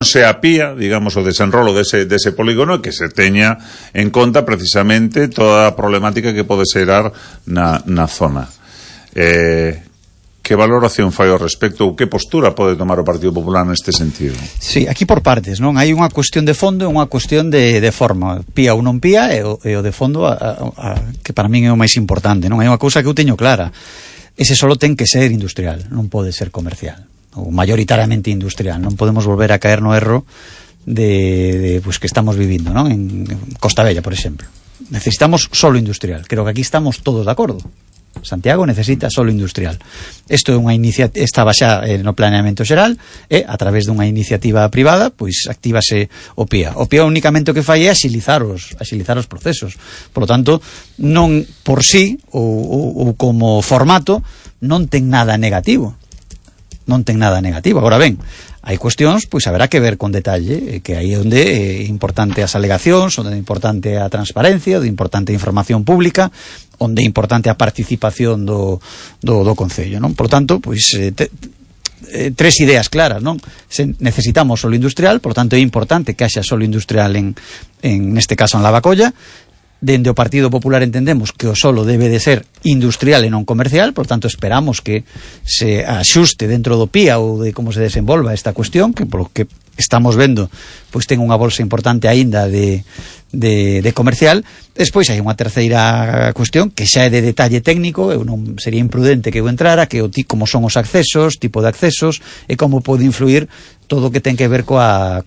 se apía, digamos, o desenrolo dese polígono, que se teña en conta precisamente toda a problemática que pode xerar na zona. Que valoración fai ao respecto ou que postura pode tomar o Partido Popular neste sentido? Sí, aquí por partes, non? Hai unha cuestión de fondo e unha cuestión de forma. Pía ou non pía e o de fondo que para min é o máis importante, non? Hai unha cousa que eu teño clara. Ese solo ten que ser industrial, non pode ser comercial, ou mayoritariamente industrial. Non podemos volver a caer no erro de pues, que estamos vivindo, non? En Costa Bella, por exemplo. Necesitamos solo industrial. Creo que aquí estamos todos de acordo. Santiago necesita solo industrial. Isto é unha iniciativa, estaba xa no planeamento xeral e a través dunha iniciativa privada, pois actívase o PIA. O PIA únicamente o que fai é axilizar os procesos. Por lo tanto, non por sí ou como formato non ten nada negativo. Non ten nada negativo. Agora ben, hai cuestións, pois haberá que ver con detalle, que aí é onde é importante as alegacións, onde é importante a transparencia, onde é importante a información pública, onde é importante a participación do Concello, non? Por tanto, pois tres ideas claras, non? Necesitamos solo industrial, por tanto é importante que haxa solo industrial en neste caso en Lavacolla. Dende o Partido Popular entendemos que o solo debe de ser industrial e non comercial, por tanto esperamos que se axuste dentro do PIA ou de como se desenvolva esta cuestión, que polo que estamos vendo pois ten unha bolsa importante aínda de comercial. Despois hai unha terceira cuestión que xa é de detalle técnico, eu non sería imprudente que eu entrara, que como son os accesos, tipo de accesos e como pode influir todo o que ten que ver coa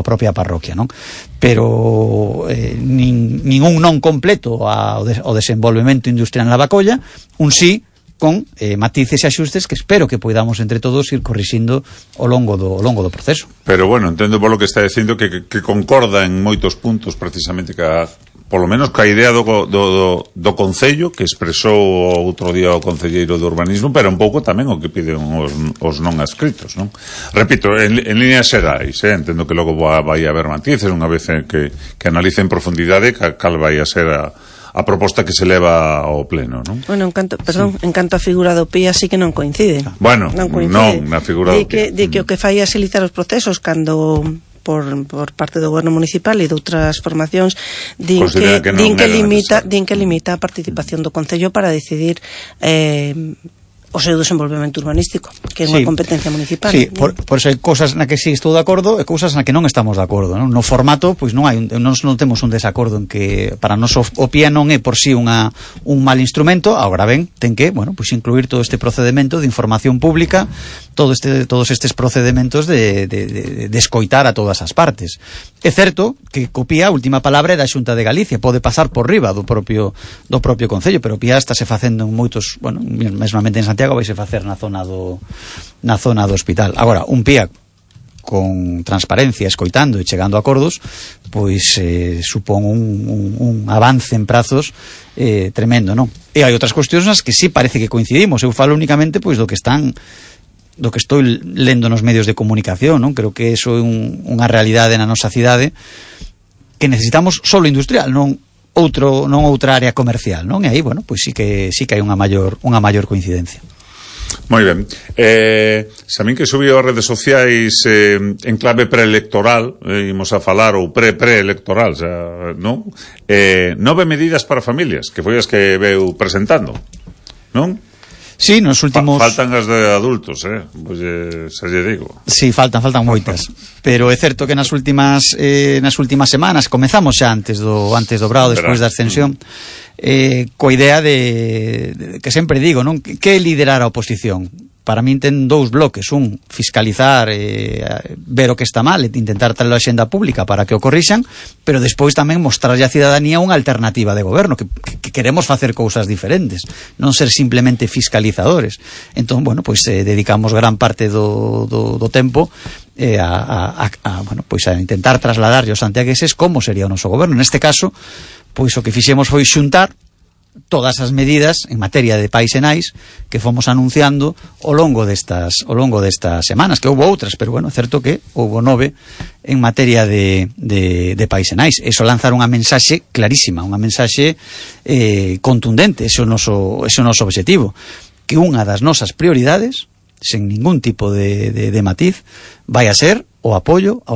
propia parroquia, non? Pero ningún non completo ao desenvolvemento industrial en Lavacolla, un sí con matices e axustes que espero que poidamos entre todos ir corrixindo ao longo do proceso. Pero bueno, entendo polo que está dicindo que concorda en moitos puntos precisamente polo menos ca idea do Concello que expresou outro día o Concelleiro de Urbanismo, pero un pouco tamén o que piden os non adscritos, non? Repito, en líneas xerais, entendo que logo vai haber matices unha vez que analice en profundidade cal vai a ser a proposta que se leva ao pleno, non? Bueno, en canto a figura do PIA sí que non coincide. Bueno, non na figura do PIA. De que o que fai é axilizar os procesos cando por parte do goberno municipal e de outras formacións din que limita a participación do Concello para decidir o seu desenvolvemento urbanístico, que é unha competencia municipal. Sí, por eso hai cousas na que sí estou de acordo e cousas na que non estamos de acordo, non? No formato, pois non temos un desacordo en que para nós o PIA non é por sí un mal instrumento. Agora ben, ten que, pois incluir todo este procedemento de información pública, todos estes procedementos de escoitar a todas as partes. É certo que co PIA a última palabra é da Xunta de Galicia, pode pasar por riba do propio Concello, pero o PIA estáse facendo en moitos, mesmamente en Santiago vai se facer na zona do hospital. Agora, un PIA con transparencia, escoitando e chegando a acordos, pois supón un avance en prazos tremendo, non? E hai outras cuestións nas que sí parece que coincidimos. Eu falo únicamente pois do que estou lendo nos medios de comunicación, non? Creo que iso é unha realidade na nosa cidade, que necesitamos solo industrial, non outra área comercial, non? E aí, pois sí que hai unha maior coincidencia. Moi ben. Samín que subiu as redes sociais en clave preelectoral, imos a falar ou preelectoral, non? 9 medidas para familias, que foi as que veu presentando, non? Sí, nos últimos... Faltan as de adultos, pois xa lle digo. Sí, faltan moitas. Pero é certo que nas últimas semanas, comezamos xa antes do brao, despois da ascensión, coa idea de que sempre digo, non? Que liderar a oposición? Para min ten dous bloques: un, fiscalizar, ver o que está mal e intentar traer a xenda pública para que o corrixan, pero despois tamén mostrarlle á cidadanía unha alternativa de goberno, que queremos facer cousas diferentes, non ser simplemente fiscalizadores. Entón, pois dedicamos gran parte do tempo a intentar trasladarlle aos santiagueses como sería o noso goberno. Neste caso, pois o que fixemos foi xuntar todas as medidas en materia de pais e nais que fomos anunciando ao longo destas semanas, que houve outras, pero é certo que houve 9 en materia de pais e nais. Eso lanzar unha mensaxe clarísima, unha mensaxe contundente. Ese é o noso obxectivo, que unha das nosas prioridades, sen ningún tipo de matiz, vai a ser o apoio aos